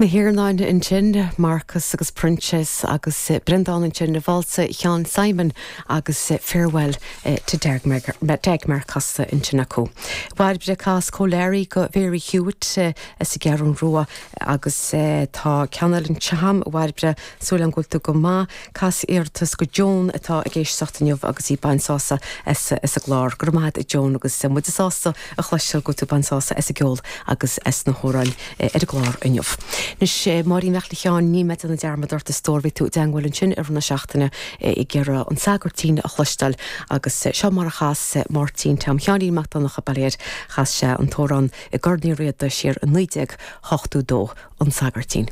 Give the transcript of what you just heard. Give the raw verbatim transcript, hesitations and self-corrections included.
Na hIarnáin ansin Marcus agus Proinsias agus Breandán ansin na válsa Sheáin Simon agus Farewell to Dagmar casta ansin acu. Bhairbre cas cóléirí go Mary Hewitt as an gCeathrú Rua agus tá ceann eile anseo Bhairbre súil agam go bhfuil tú go maith cas iarratas go Joan atá ag éisteacht inniu agus í ag baint sásamh as as an gclár go raibh maith agat Joan agus muid sásta a chloisteáil go bhfuil tú ag baint sásamh as an gceol agus as na hamhráin ar an gclár inniu. Anois Máirín Mhic Sheáin ní mé an dearmad ort is stór bhí tú i dteagmháil ansin ar na seachtaine ag iarraidh an Sagairtín a chloisteáil agus seo mar a chas Máirtín Tom Sheáinín Mac Donncha bail chas sé an t-amhrán i gCorn Uí Riada siar i naoi déag ochtó dó an Sagairtín.